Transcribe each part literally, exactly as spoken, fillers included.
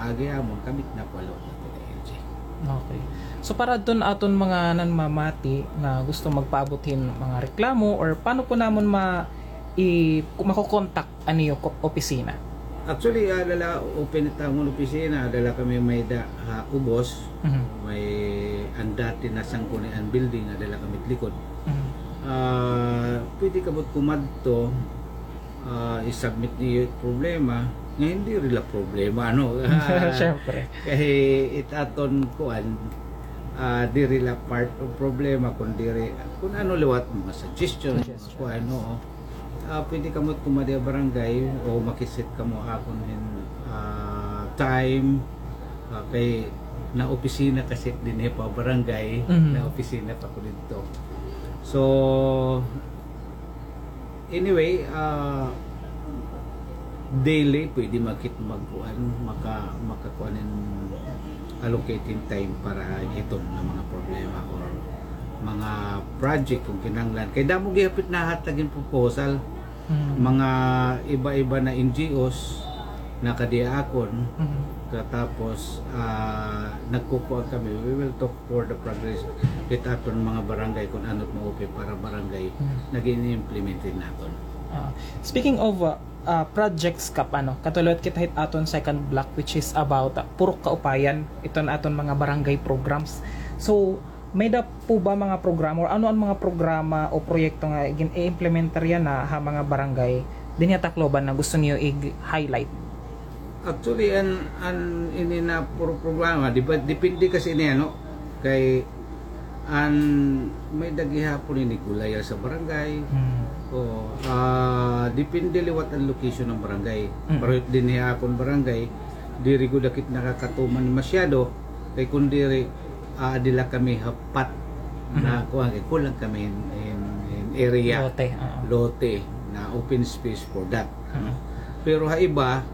agi amon, kami it napalo naton ni L G. Okay. So, para adton aton mga nanmamati nga gusto magpaabot hin mga reklamo, or paano po namon ma-, i-, makokontak an iyo ko-, opisina? Actually, ada la open it amon opisina, ada la kami may-ada ha ubos, Mhm. may an dati na Sangguniang building, ada la kami it likod. Mhm. Ah, pwede kamo kumadto, ah, i-submit niyo it problema, nga diri la problema, ano? Siyempre. Kay it aton kuan, ah, diri la part of problema, kun diri, kun ano liwat, mga suggestion, mga Suggestion. kuan, oo. Ah, pwede kamo kumadi ha barangay o makisita kamo akon hin, ah, time. Ah, kay naopisina kasi dinhi pa barangay, Mhm. naopisina pa ko didto. So, anyway, ah, daily, pwede makit magkuan, maka-, makakuan hin allocate hin time para hiton nga mga problema or mga project kung kinahanglan. Kay damo gihapon it nahatag hin proposal. Mm. Mga iba-iba na N G Os, nakadi ha akon. Mm. Katapos, ah, nagkukuan kami, we will talk for the progress hit aton mga barangay kung ano it maupay para barangay Mm. nga gin-implement naton. Ah, speaking of, ah, ah, projects, Kap, ano, kato liwat kita hit aton second block, which is about, ah, Purok Kaupayan, iton aton mga barangay programs. So, may-ada po ba mga programa, or ano an mga programa o proyekto nga gin-i-implementar yana ha mga barangay dinhi ha Tacloban na gusto niyo i-highlight? Actually, an, an ini na pro-, programa, di ba, depende kasi ini, ano, kay an may-ada gihapon ini gulayan sa barangay. Mm. Oo, ah, depende liwat an location ng barangay. Mm. Pero dinhi ha akon barangay, diri gud ak it nakakatuman masyado, kay kun diri, ah, diri la kami hapat na Mhm. kuan, kay kulang kami hin, hin, hin area. Lote, oo. Lote na open space for that, ano. Mhm. Pero ha iba,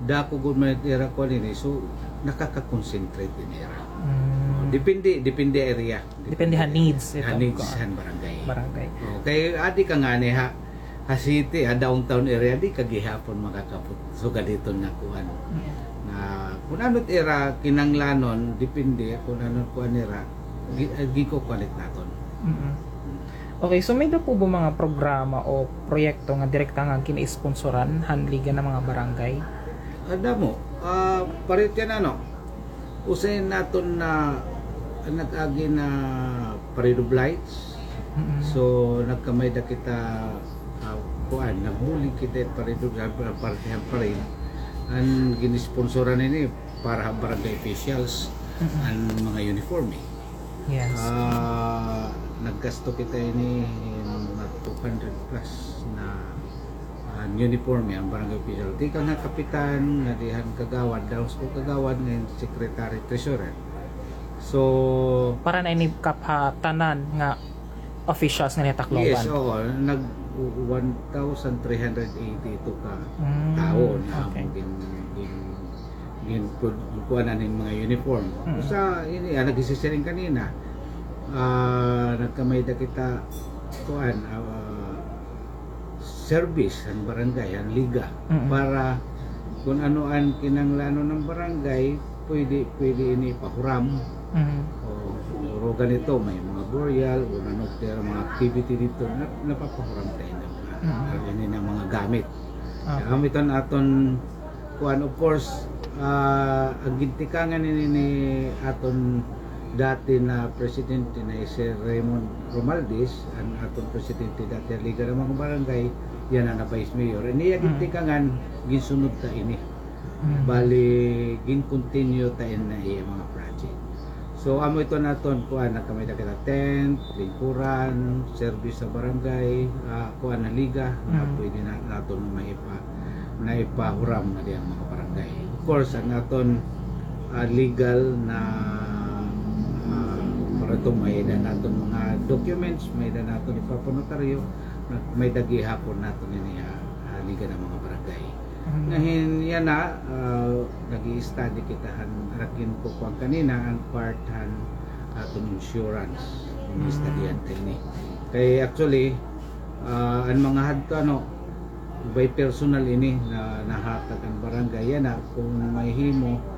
dako gud man it ira kuan ini, so nakaka-concentrate it ira. Mm. Depende, depende area. Depende ha needs, ha needs han barangay. Barangay. Okay, adi ka ngani ha, ha city, ha downtown area, di ka gihapon makakapot. So, gaditon nga kuan. Mm. Nga, kun ano it ira kinahanglanon, depende kun ano kuan nira, gi-, ah, gikukuan it naton. Mm. Okay, so may-ada po ba mga programa o proyekto nga direkta nga gin-isponsoran han Liga ng mga Barangay? Ah, damo. Ah, pareho yana, ano, usa naton na nag-agi na Parade of Lights. Mm-mm. So, nagkamay-ada kita, ah, kuan, nagbulig kita Parade of, ah, parte han parade. An gin-isponsoran ini para ha barangay officials, Mm-mm. an mga uniforme. Yes. Ah, naggasto kita ini hin mga two hundred plus na, ah, uniforme an barangay official. Tikang ha kapitan, ngadi han kagawad, dahon sa kagawad, ngan secretary, treasurer. So, para na ini, Kap, ha tanan nga officials nga dinhi ha Tacloban? Yes, oo. Nag one thousand three hundred eighty-two ka Mm, tawo na okay. gin-, gin-, gin-, kuanan hin mga uniform. Mm. Usa ini, ah, nagsisiring kanina, ah, nagkamay-ada kita, kuan, ah, service han barangay, han liga, Mm. para kun ano an kinahanglanon han barangay, pwede, pwede ini ipahuram. Mm. O, o ganito, may mga burial, o ano, pero mga activity didto, na, napapahuram ta ini, Mm. ini nga mga gamit. Okay. Gamit an aton kuan, of course, ah, an gintikangan ini ni aton dati na presidente na hi Sir Raymond Romualdez, an aton presidente dati han Liga ng mga Barangay, yana na vice mayor. Ini iya Mm. gintikangan, ginsunod ta ini. Mm. Bali, gin-continue ta ini iya mga project. So, amo ito naton, kuan, nagkamay-ada kita tent, lingkuran, service sa barangay, ah, kuan, na liga, na Mm. pwede na, naton maipa-, naipahuram ngadi han mga barangay. Of course, an aton, ah, legal na, ah, para ito, may-ada naton mga documents, may-ada naton ipapanotaryo, na, may-ada gihapon naton ini, ah, ah, Liga ng mga Barangay. Mm. Ngahin yana, ah, nag-i-study kita han, an ak ginkukuan kanina, an part han aton insurance. Mm. Ini-study-an ta ini. Kay actually, ah, an mga hadto, ano, by personal ini na nahatag an barangay. Yana, kun mahimo,